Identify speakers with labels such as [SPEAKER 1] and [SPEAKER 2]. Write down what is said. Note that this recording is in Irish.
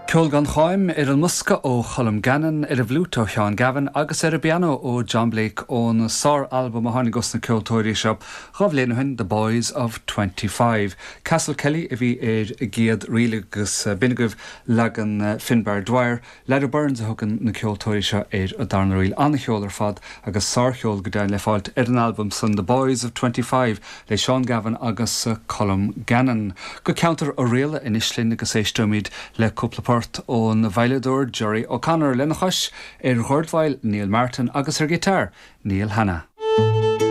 [SPEAKER 1] Ceol gan cháim ar an mbosca ó Cholm Gannon, ar an bhfliúit ó Sheán Gavin agus ar an bpianó ó John Blake ón sár-albam a tháinig os na ceoltóirí seo 2 bhliain ó shin, The Boys of 25. Castle Kelly a bhí ar an gcéad ríl agus b'in agaibh leagan Finbar Dwyer. Leaid Burns a thugann na ceoltóirí seo ar an darna ríl. An-cheol ar fad agus sárcheol go deimhin le fáilt ar an albam san The Boys of 25 le Seán Gavin agus Colm Gannon. Go ceantar Oirialla anois linn agus éisteoimid le cúpla port ón veidhleadóir Gerry O'Connor, lena chois ar dhordveidhil Neil Martin agus ar ghiotár Neil Hanna.